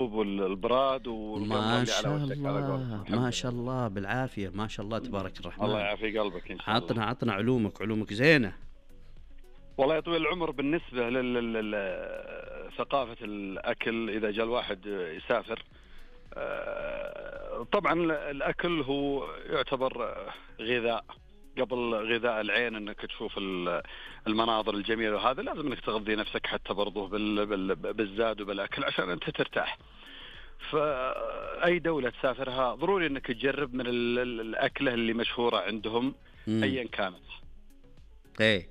والبراد والقمرة ما اللي على شاء وجهك على قولتهم. الله ما الحمد شاء لله. الله بالعافية، ما شاء الله تبارك الله الرحمن. يعافي قلبك إن شاء الله. عطنا علومك زينة. والله يا طويل العمر، بالنسبة ثقافة الأكل إذا جاء الواحد يسافر، طبعا الأكل هو يعتبر غذاء. قبل غذاء العين انك تشوف المناظر الجميلة، وهذا لازم انك تغذي نفسك حتى برضه بالزاد وبالأكل عشان انت ترتاح. فأي دولة تسافرها ضروري انك تجرب من الأكلة اللي مشهورة عندهم ايا كانت. ايه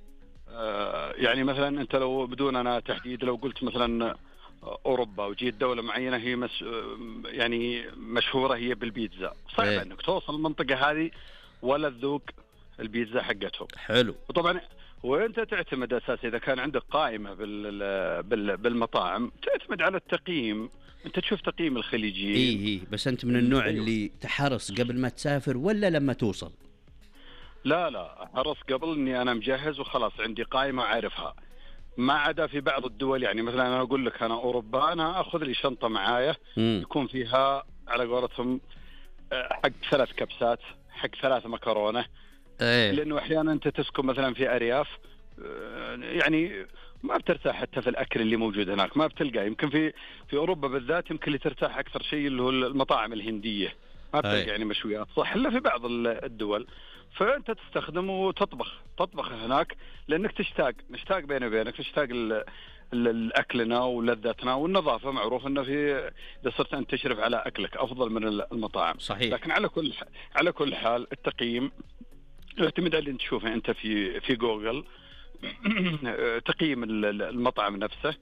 يعني مثلا انت لو بدون انا تحديد، لو قلت مثلا اوروبا وجيت دولة معينة هي يعني مشهورة هي بالبيتزا، صعب انك توصل المنطقة هذه ولا تذوق البيتزا حقتهم. حلو. وطبعا وانت تعتمد اساسا اذا كان عندك قائمة بالمطاعم تعتمد على التقييم، انت تشوف تقييم الخليجيين. ايه بس انت من النوع اللي تحرص قبل ما تسافر ولا لما توصل؟ لا حرص قبل، اني انا مجهز وخلاص عندي قائمة اعرفها. ما عدا في بعض الدول، يعني مثلا انا اقول لك انا اوروبا انا اخذ لي شنطة معايا يكون فيها على قولتهم حق 3 كبسات، حق 3 مكرونة. لانه احيانا انت تسكن مثلا في ارياف، يعني ما بترتاح حتى في الاكل اللي موجود هناك، ما بتلقى. يمكن في اوروبا بالذات يمكن اللي ترتاح اكثر شيء اللي هو المطاعم الهندية، ما بتلقى يعني مشويات صح الا في بعض الدول. فانت تستخدم وتطبخ هناك، لانك نشتاق بيني وبينك، تشتاق الاكلنا ولذتنا والنظافه. معروف انه اذا صرت انت تشرف على اكلك افضل من المطاعم. صحيح. لكن على كل حال التقييم يعتمد على اللي تشوفه انت في جوجل تقييم المطعم نفسه،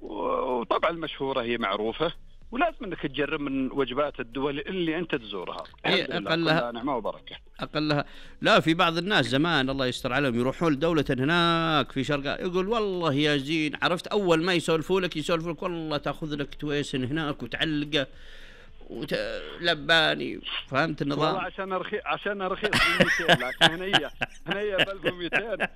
وطبعا المشهوره هي معروفه، ولازم انك تجرب من وجبات الدول اللي انت تزورها. اقلها نعمه وبركه. اقلها. لا، في بعض الناس زمان الله يستر عليهم يروحون لدولة هناك في شرق، يقول والله يا زين، عرفت اول ما يسولفوا لك والله تاخذ لك تويسن هناك وتعلقه لباني، فهمت النظام؟ والله عشان رخيص 200، لكن هنية ب 1200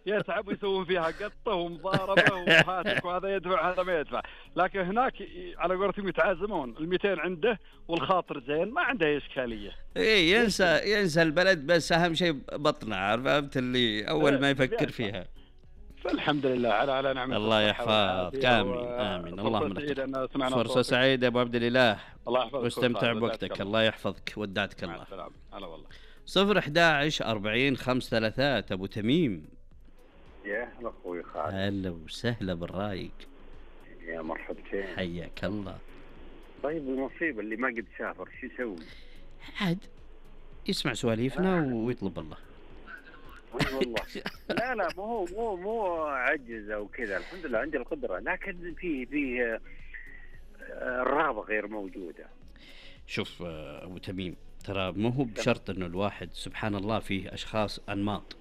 يتعبوا يسوون فيها قطة ومضاربة وهاتك، وهذا يدفع هذا ما يدفع. لكن هناك على قولتهم يتعازمون، 200 عنده والخاطر زين، ما عنده إشكالية. ايه ينسى البلد، بس اهم شيء بطنه، عارف، فهمت اللي اول ما يفكر فيها. فالحمد لله على نعمة. الله يحفظك. آمين اللهم. فرصة سعيدة أبو عبد الإله، واستمتع بوقتك. الله يحفظك، ودعتك الله. السلام. هلا والله. 011-40-533 أبو تميم. يا هلا أخوي خالد. هلا وسهلا بالرايق. يا مرحبتين. حياك الله. طيب المصيبة اللي ما قد سافر شو يسوي؟ عاد يسمع سواليفنا ويطلب الله. والله لا مو عجز او كذا، الحمد لله عندي القدره، لكن في الرغبه غير موجوده. شوف ابو تميم، ترى مو هو بشرط انه الواحد سبحان الله فيه اشخاص انماط،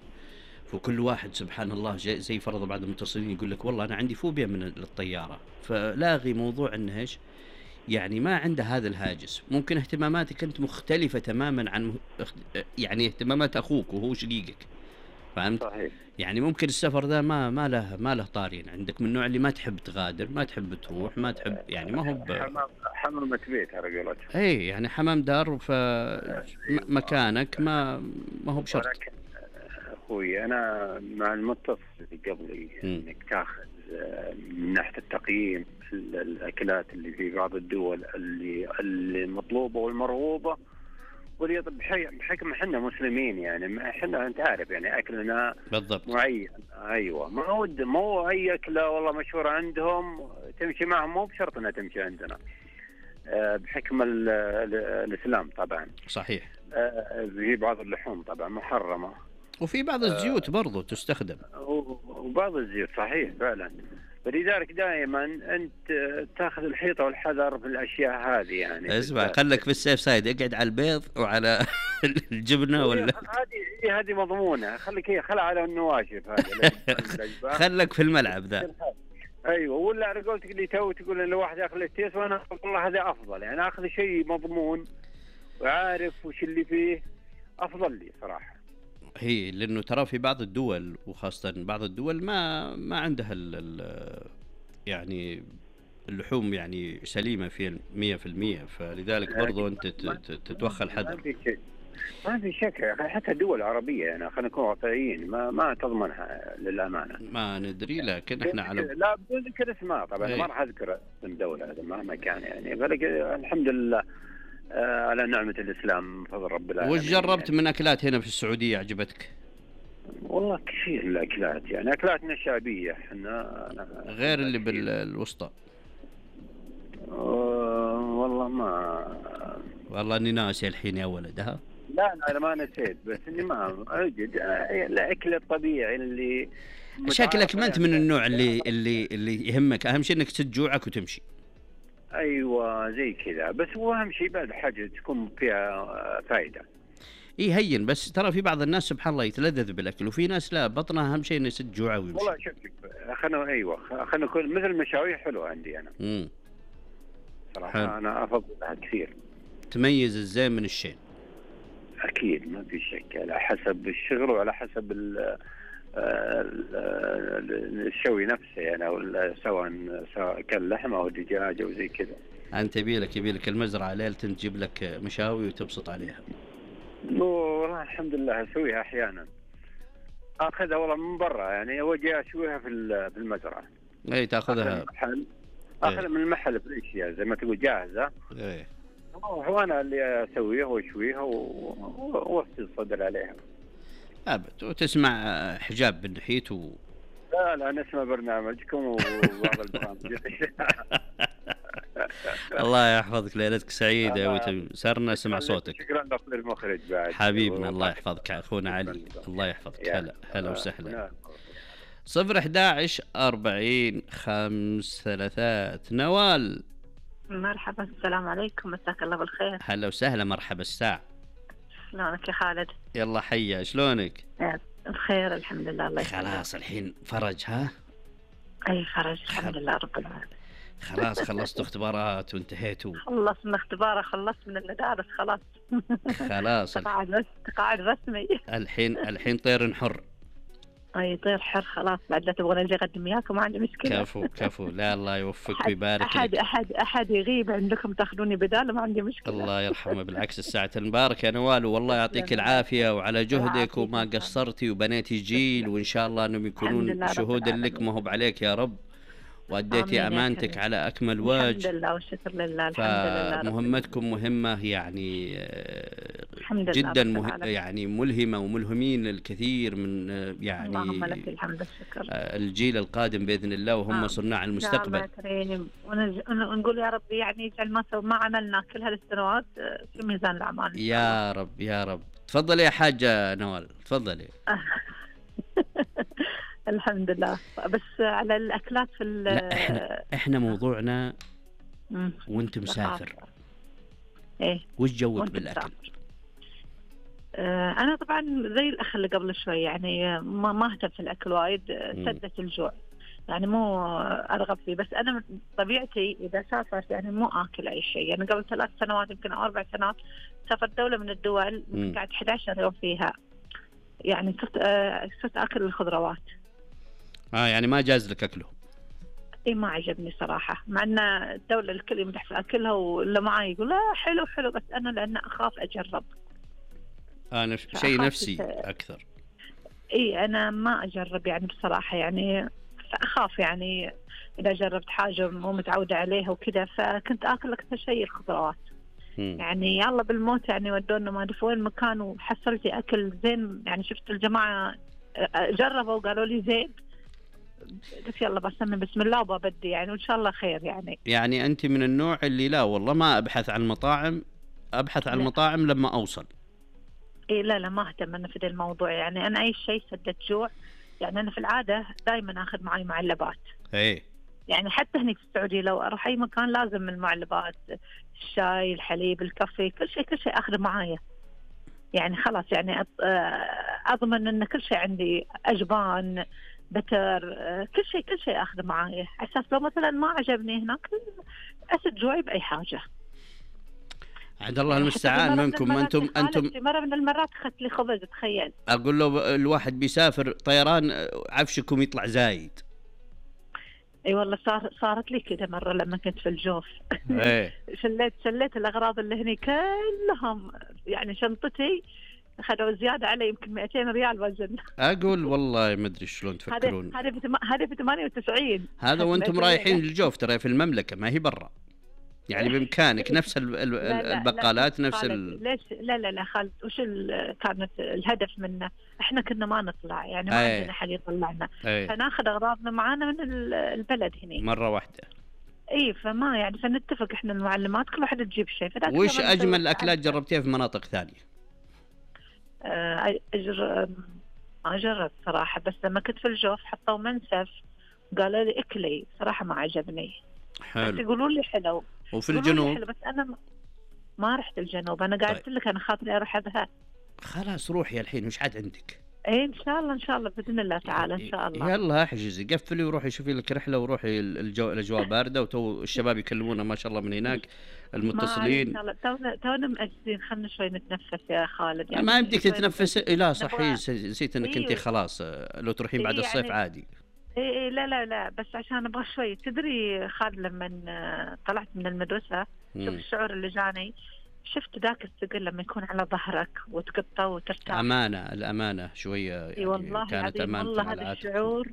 فكل واحد سبحان الله زي فرض بعض المتصلين يقول لك والله انا عندي فوبيا من الطياره، فلاغي موضوع انه ايش يعني ما عنده هذا الهاجس. ممكن اهتماماتك انت مختلفه تماما عن يعني اهتمامات اخوك وهو شقيقك، فهمت؟ صحيح. يعني ممكن السفر ذا ما له طارين عندك، من النوع اللي ما تحب تغادر، ما تحب تروح، ما تحب يعني ما هو حمامة بيت على قولتهم. اي يعني حمام دار، مكانك ما هو بشرط. ولكن اخوي انا مع المتصل اللي قبلي انك تاخذ من ناحيه التقييم الاكلات اللي في بعض الدول اللي مطلوبه والمرغوبه، بحكم احنا مسلمين، يعني احنا انت عارف يعني اكلنا بالضبط معين. ايوه، ما هو اي اكله والله مشهوره عندهم تمشي معهم، مو بشرط انها تمشي عندنا بحكم الاسلام طبعا. صحيح. في بعض اللحوم طبعا محرمه، وفي بعض الزيوت برضو تستخدم، وبعض الزيوت صحيح فعلا. فلذلك دائما انت تاخذ الحيطه والحذر في الاشياء هذه. يعني اسمع، خلك في السيف سايد، اقعد على البيض وعلى الجبنه ولا هذه مضمونه، خلها على النواشف هذه خلك في الملعب ذا. ايوه، ولا على قولتك اللي تقول ان الواحد ياخذ التيس، وانا والله هذا افضل، يعني اخذ شيء مضمون وعارف وش اللي فيه افضل لي صراحه. هي لانه ترى في بعض الدول، وخاصه بعض الدول ما عندها يعني اللحوم يعني سليمة في 100%، فلذلك برضو أنت تتوخى الحذر. ما في شك يا أخي، حتى الدول العربية يعني خلينا نكون واقعيين ما تضمنها للأمانة. ما ندري، لكن احنا على لا بدون ذكر اسماء طبعا، ما راح أذكر اسم دولة هذا مهما كان يعني، الحمد لله على نعمة الإسلام بفضل رب العالمين. وش جربت من أكلات هنا في السعودية عجبتك؟ والله كثير الأكلات، يعني أكلاتنا الشعبية احنا غير اللي بالوسطى. والله اني ناسي الحين يا ولد. ها لا انا ما نسيت، بس اني ما اجد الاكل الطبيعي اللي شكلك ما انت من النوع اللي يهمك، اهم شيء انك تجوعك وتمشي. ايوه زي كذا، بس هو اهم شيء بعد حاجه تكون فيها فائده. ايه هين، بس ترى في بعض الناس سبحان الله يتلذذ بالاكل، وفي ناس لا، بطنها اهم شيء انه يسد جوعه ويمشي. والله شوف خلنا نكون مثل المشاوي حلوه عندي انا. صراحه انا افضلها كثير. تميز الزين من الشين. اكيد ما في شك، على حسب الشغل وعلى حسب الشوي نفسه يعني، او سواء كان لحمه او دجاج او زي كذا. انت يبيلك المزرعه ليله تجيب لك مشاوي وتبسط عليها. والله الحمد لله اسويها احيانا، اخذها والله من برا يعني، واجي اشويها في المزرعه. اي تاخذها اخذها من المحل فريشيا زي ما تقول جاهزه. ايه وانا اللي اسويها واشويها واوصي الصدر عليها. ابد. وتسمع حجاب بالنحيت لا نسمع برنامجكم وبعض البرامج. الله يحفظك، ليلتك سعيدة يا وتم، سرنا نسمع صوتك. شكرا لك المخرج بعد حبيبنا، الله يحفظك اخونا علي، الله يحفظك. هلا وسهلا. 011 40 5 نوال. مرحبا، السلام عليكم، مساك الله بالخير. هلا وسهلا، مرحبا الساعة. شلونك يا خالد؟ يلا حيا، شلونك؟ بخير الحمد لله. الله يسلمك. خلاص الحين فرج. ها اي فرج الحمد لله رب العالمين. خلاص خلصت اختبارات وانتهيتوا؟ خلصنا اختبار، خلصت من المدارس خلاص. تقاعد رسمي. الحين طير حر. اي طير حر خلاص، بعد لا تبغون اجي اقدم وياكم ما عندي مشكله. كفو لا الله يوفقك ويبارك لك. احد يغيب عندكم تاخذوني بداله، ما عندي مشكله. الله يرحمه، بالعكس الساعه المبارك يا نوال، والله يعطيك العافيه وعلى جهدك وما قصرتي وبنيتي جيل، وان شاء الله انهم يكونون شهودا لك ما هو عليك يا رب، وأديتي أمانتك على أكمل وجه. الحمد لله والشكر لله. الحمد لله. مهمتكم مهمة يعني جدا يعني ملهمة، وملهمين الكثير من يعني اللهم لك الحمد والشكر الجيل القادم بإذن الله، وهم صناع المستقبل. ونقول يا رب يعني يجعل ما عملنا كل هالسنوات في ميزان الأعمال. يا رب يا رب. تفضلي يا حاجة نوال، تفضلي. الحمد لله. بس على الأكلات في لا احنا موضوعنا وانت مسافر. ايه وش جوك بالاكل؟ انا طبعا زي الاخ اللي قبل شوي يعني ما اهتم في الاكل وايد، سدة الجوع يعني مو ارغب فيه، بس انا طبيعتي اذا سافرت يعني مو اكل اي شيء. يعني قبل 3 سنوات يمكن او 4 سنوات سافرت دولة من الدول قعدت 11 يوم فيها، يعني صرت اكل الخضروات. يعني ما جاز لك اكله؟ اي ما عجبني صراحه، مع ان الدوله الكل يمدح في اكلها واللي معي يقول لا حلو، بس انا لان اخاف اجرب. شيء نفسي اكثر. اي انا ما اجرب يعني بصراحه، يعني اخاف يعني اذا جربت حاجه مو متعوده عليها وكذا، فكنت اكل اكثر شيء الخضروات. يعني يلا بالموت يعني ودونا ما ادري وين مكان وحصلتي اكل زين، يعني شفت الجماعه جربوا وقالوا لي زين، قلت يلا بسمي بسم الله وببدي يعني وان شاء الله خير. يعني انت من النوع اللي لا والله ما ابحث عن المطاعم، ابحث عن المطاعم لما اوصل. اي لا ما اهتم انا في ذا الموضوع، يعني انا اي شيء سدة جوع. يعني انا في العاده دائما اخذ معي معلبات. ايه يعني حتى هني في السعوديه لو اروح اي مكان لازم المعلبات، الشاي، الحليب، الكافي، كل شيء اخذه معايا. يعني خلاص يعني اضمن ان كل شيء عندي، اجبان، بتر، كل شيء اخذه معايا، على اساس لو مثلا ما عجبني هناك اسد جوعي باي حاجه. عند الله المستعان. منكم انتم مره من المرات اخذت لي خبز، تخيل. اقول له الواحد بيسافر طيران عفشكم يطلع زايد. اي والله صارت لي كده مرة لما كنت في الجوف. ايه شليت الأغراض اللي هني كلهم، يعني شنطتي أخذوا زيادة علي يمكن 200 ريال وزن. اقول والله ما ادري شلون تفكرون. هذه في 98. هذا وانتم رايحين الجوف، ترى في المملكة ما هي برا، يعني بامكانك نفس البقالات نفس ليش لا خالد، وش كانت الهدف منه؟ احنا كنا ما نطلع، يعني ما عندنا حد يطلعنا، فناخذ اغراضنا معانا من البلد هنا مرة واحدة. اي فما يعني فنتفق احنا المعلمات كل واحد تجيب شيء. وش اجمل الاكلات جربتيها في مناطق ثانية؟ ما جربت صراحة، بس لما كنت في الجوف حطوا منسف قالوا لي اكلي، صراحة ما عجبني. حلو. بس يقولوا لي حلو. وفي الجنوب؟ بس أنا ما رحت الجنوب، أنا قاعدت لك أنا خاطري أروح أذهب. خلاص روحي الحين، وش عاد عندك؟ إيه إن شاء الله بإذن الله تعالى إن شاء الله. يلا احجزي، قفلي وروحي شوفي لك رحلة، وروحي الأجواء باردة، وتو الشباب يكلمونا ما شاء الله من هناك المتصلين. إن شاء الله تونا مأجزين، خلنا شوي نتنفس يا خالد. يعني ما يمديك تتنفس. لا صحيح، نسيت إنك أنت خلاص لو تروحين بعد الصيف يعني عادي. إيه لا بس عشان أبغى شوي. تدري خالد لما طلعت من المدرسة شوف الشعور اللي جاني، شفت ذاك الثقل لما يكون على ظهرك وتقطع وترتاح. الأمانة شوية يعني والله كانت أمانة. والله هذا الشعور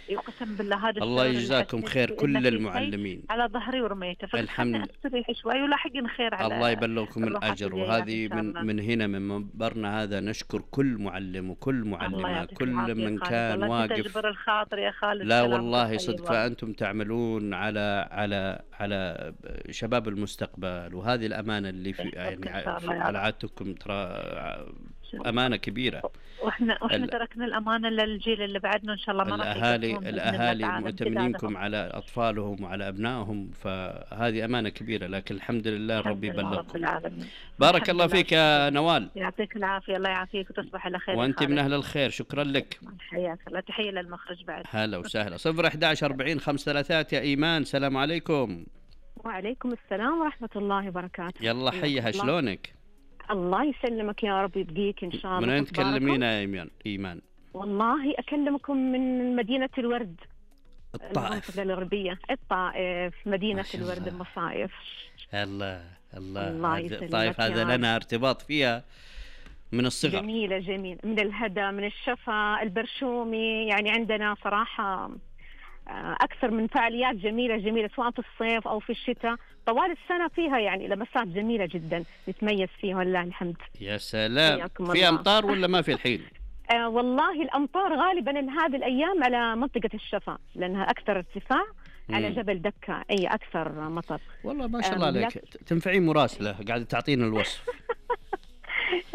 يقسم بالله، هذا الله يجزاكم خير كل المعلمين. على ظهري ورميته، الحمد استريح شوي ولاحقين خير على الله يبلغكم الأجر. وهذه من هنا من منبرنا هذا نشكر كل معلم وكل معلمة، كل من كان واقف. تجبر الخاطر يا خالد. لا والله صدق، فأنتم تعملون على شباب المستقبل، وهذه الأمانة اللي في يعني على عادتكم، ترى أمانة كبيرة. واحنا تركنا الأمانة للجيل اللي بعدنا إن شاء الله. ما الأهالي مؤتمنينكم على أطفالهم وعلى أبنائهم، فهذه أمانة كبيرة، لكن الحمد لله ربي يبلغكم. بارك الله فيك يا نوال. يعطيك العافية. الله يعافيك وتصبح على خير. وأنت من أهل الخير، شكرا لك. حياك الله. تحية للمخرج بعد. هلا وسهلا. 011 40 533 يا إيمان. السلام عليكم. وعليكم السلام ورحمة الله وبركاته. يلا حيها، شلونك؟ الله يسلمك يا رب، يبقيك إن شاء الله. من أين تكلمينا يا إيمان؟ والله أكلمكم من مدينة الورد، الطائف، المنطقة الغربية، الطائف، مدينة الورد المصايف. الله الطائف هذا لنا ارتباط فيها من الصغر. جميلة من الهدى، من الشفا، البرشومي، يعني عندنا صراحة أكثر من فعاليات جميلة سواء في الصيف أو في الشتاء، طوال السنة فيها يعني لمسات جميلة جدا نتميز فيها والله الحمد. يا سلام. في أمطار ولا ما في الحين؟ والله الأمطار غالبا هذه الأيام على منطقة الشفا، لأنها أكثر ارتفاع على جبل دكة، أي أكثر مطر. والله ما شاء الله عليك، تنفعين مراسلة قاعدة تعطينا الوصف.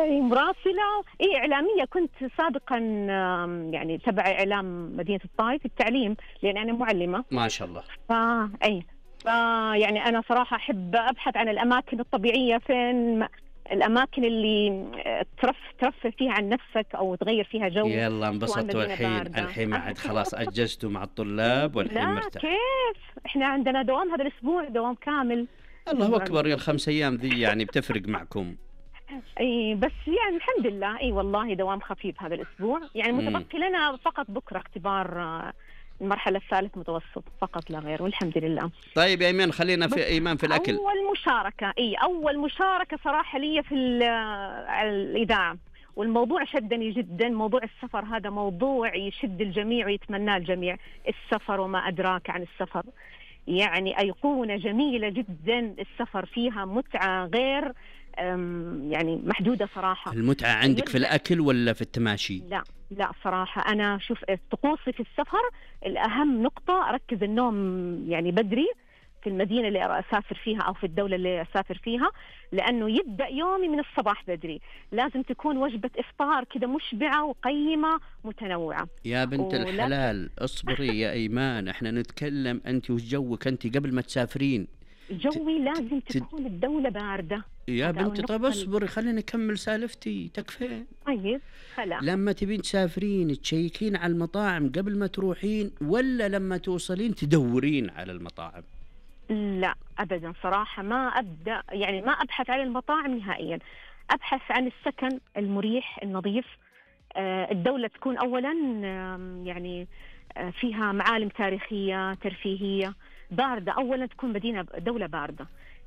مراسلة إعلامية، كنت سابقا يعني تبع إعلام مدينة الطائف التعليم، لأن أنا معلمة ما شاء الله. يعني أنا صراحة أحب أبحث عن الأماكن الطبيعية، فين الأماكن اللي ترفه فيها عن نفسك أو تغير فيها جو. يلا انبسطوا الحين ما عاد خلاص أجزتوا مع الطلاب والحين مرتاح. كيف إحنا عندنا دوام هذا الأسبوع، دوام كامل. الله أكبر، يا ال5 أيام ذي يعني بتفرق معكم. اي بس يعني الحمد لله. اي والله دوام خفيف هذا الاسبوع، يعني متبقي لنا فقط بكره اختبار المرحله الثالث متوسط فقط لا غير، والحمد لله. طيب يا ايمان، خلينا في ايمان في الاكل. اول مشاركه صراحه لي في الاذاعه، والموضوع شدني جدا. موضوع السفر هذا موضوع يشد الجميع ويتمناه الجميع. السفر وما ادراك عن السفر، يعني ايقونه جميله جدا. السفر فيها متعه غير يعني محدودة صراحة. المتعة عندك في الأكل ولا في التماشي؟ لا صراحة أنا شوف طقوسي في السفر الأهم نقطة أركز النوم يعني بدري في المدينة اللي أسافر فيها أو في الدولة اللي أسافر فيها، لأنه يبدأ يومي من الصباح بدري. لازم تكون وجبة إفطار كده مشبعة وقيمة متنوعة. يا بنت الحلال اصبري يا إيمان، احنا نتكلم أنت وجوك أنت قبل ما تسافرين. جوي لازم تكون الدولة باردة يا بنتي. طيب اصبري خليني أكمل سالفتي تكفين. طيب خلا. لما تبين تسافرين تشيكين على المطاعم قبل ما تروحين، ولا لما توصلين تدورين على المطاعم؟ لا أبدا صراحة، ما أبحث عن المطاعم نهائيا. أبحث عن السكن المريح النظيف. الدولة تكون أولا يعني فيها معالم تاريخية ترفيهية، باردة. أولا تكون مدينة دولة باردة،